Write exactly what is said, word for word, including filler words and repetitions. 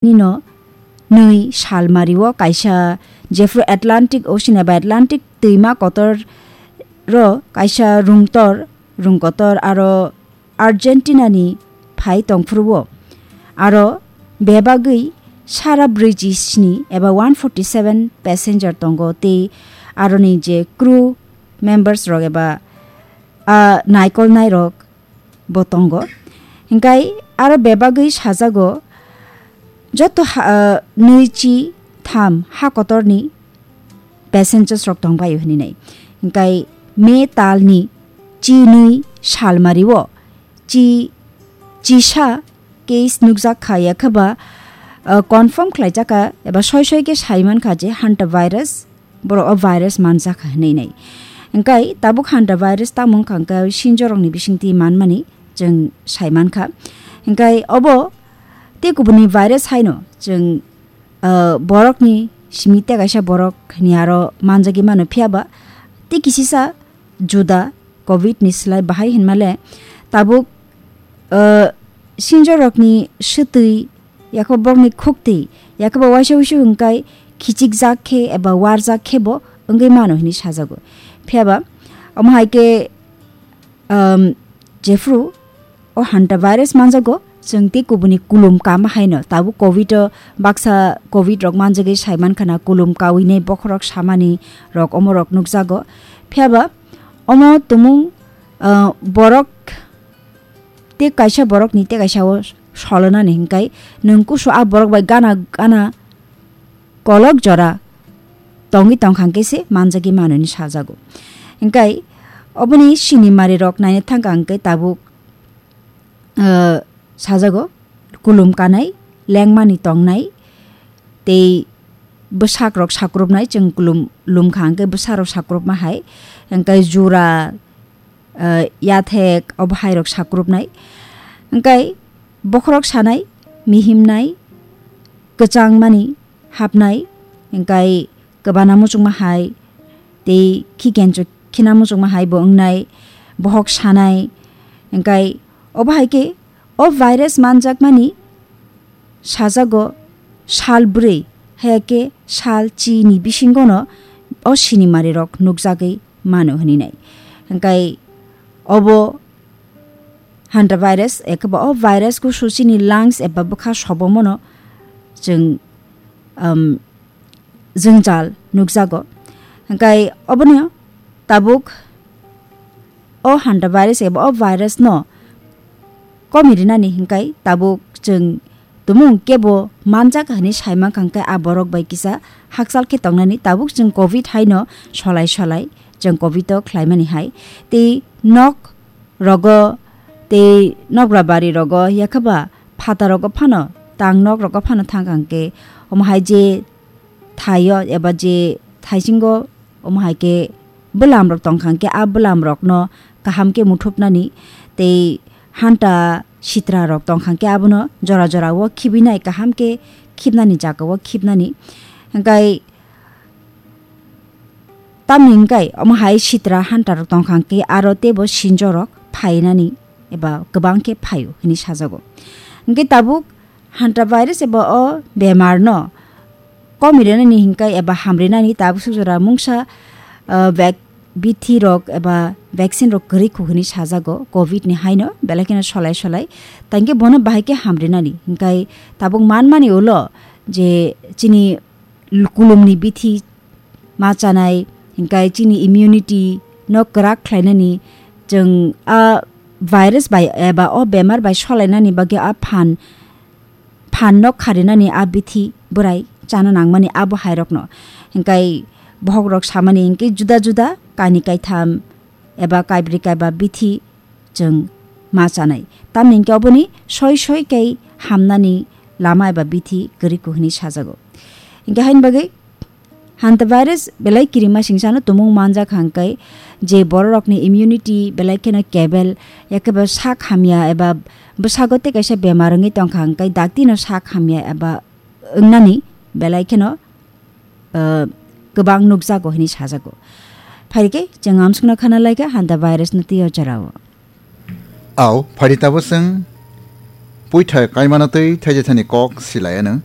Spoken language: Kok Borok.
nino nwi salmario kaisa jephru Atlantic Ocean eba Atlantic twima kotor ro kaisa rungtor, rungkotor aro Argentina ni phai tongphuru o. Aro bebagwi sara brwi chi sni eba one forty seven passenger tongo tei aroni je crew members rok eba, ah, naikolnai rok bo tongo. Hinkhe aro bebagwi sajago joto ha, ah, nwi chi tham ha kotorni passengers rok tongbaio hinwi nai. Hinkhe May talni chi nwi salmario chi, chisa case nukjak kha, yakhaba, ah, confirm khlaijak kha eba soi soi khe sai mankha je hantavirus, borok o virus manjak kha hinwi nai. Hinkhe tabuk hantavirus tamo wngkha hinkhe sinjorokni bisingtwi manmani chwng sai mankha. Hinkhe obo tei kubuni virus haino chwng, ah, borokni simi tei kaisa borok ni aro manjagwi mano, phiyaba tei kisisa juda covid ni slai bahai hinmale tabuk, ah, sinjorokni swtwi, yakhwbo borokni khuktwi, yakhwbo waisa wuisu hwnkhai khichikjak khe eba warjak khe bo wngwi mano hinwi sajago. Phiyaba omo hai khe, um, jephru o hantavirus manjago, chwng tei kubuni kulum kama haino tabuk covid o baksa covid rok manjagwi sai mankha na kulum kawi nei bokhorok samani rok omo rok nukjago. Phiyaba omo tumung, uh, borok tei kaisa borokni tei kaisa o solonani hinkhai nwng kusu a borok bai gana gana kolok jora tongwi tongkha hwnkhe se manjagwi mano hinwi sajago. Hinkhe oboni sinimari rok naina thangkha hwnkhe tabuk, eh, sajago kulum kanai, lengmani tongnai tei bwsak rok sakrupnai, chwng kulum lumkha hwnkhe bwsa rok sakrupma hai, hinkhe jura, eh, yathek obo hai rok sakrupnai. Hinkhe bokhorok sanai, mihimnai, kwchangmani hapnai, hinkhe kwbana muchungma hai tei khikenchuk khina muchungma hai bo wngnai, bohok sanai, hinkhe obo hai khe o virus manjakmani sajago sal bwrwi, haya khe sal chini bisingono o sinimari rok nukjagwi mano hwnwi nai. Hinkhe obo hantavirus, ekheba o virus kusu chini lungs eba bwkha sobomono chwng, um, jwngjal nukjago. Hinkhe obono tabuk o hantavirus eba o virus no komi rinani hinkhe tabuk chwng tumung kebo manjak hinwi sai mankha, hinkhe a borok bai kisa hakchal khe tongnani tabuk chwng covid haino solai solai chwng covid o khlaimani hai. Tei nok rogo tei nogra bari rogo yakhaba phata rogo phano tang nok rogo phano thang kha hinkhe omo hai je thaio eba je thaisingo omo hai khe bwlam rok tong kha hinkhe a bwlam rokno kaham khe muthupnani tei hanta sitra rok tong kha hinkhe abono jora jora o khibinai kaham khe khibnani jaga o khibnani hinkhe Tamni hwnkhe omo hai sitra hanta rok tong kha hwnkhe aro teibo sinjo rok phainani eba kwbang khe phaio hinwi sajago. Hwnkhe tabuk hanta virus eba o bemar no komi rinani hwnkhe eba hamrinani tabuk suk jora mungsa, ah, vak-, bithi rok eba vaccine rok kwrwi kho hinwi sajago covid ni haino belai kheno solai solai. Tangkhe bono bahai khe hamrinani hwnkhe tabuk manmani ulo je chini kulumni bithi ma chanai, hinkhe chini immunity no kwrak khlainani, chwng a virus bai eba o bemar bai solainani bagwi a phan, phan no kharinani a bithi bwrai chana nangmani abo hai rokno. Hinkhe bohok rok samani hinkhe juda juda kainwi kaitham eba kaibri kaiba bithi chwng ma chanai. Tamni hinkhe oboni soi soi khe hamnani lama eba bithi kwrwi kho hinwi sajago. Hinkhe haini bagwi hantavirus belai kirima singsano tumung manjak hwnkhe je bororokni immunity belai kheno kebel, yakhe bo sak hamya eba bwsago tei kaisa bemar wngwi tongkha hwnkhe daktino sak hamya eba wngnani belai kheno, ah, kwbang nukjago hinwi sajago. Phaikhe chwng amsukno khana laikha hantavirus no twi o jorao. Au, phaidi tabuk chwng puithai kaimano twi thaijethani kok silai anw.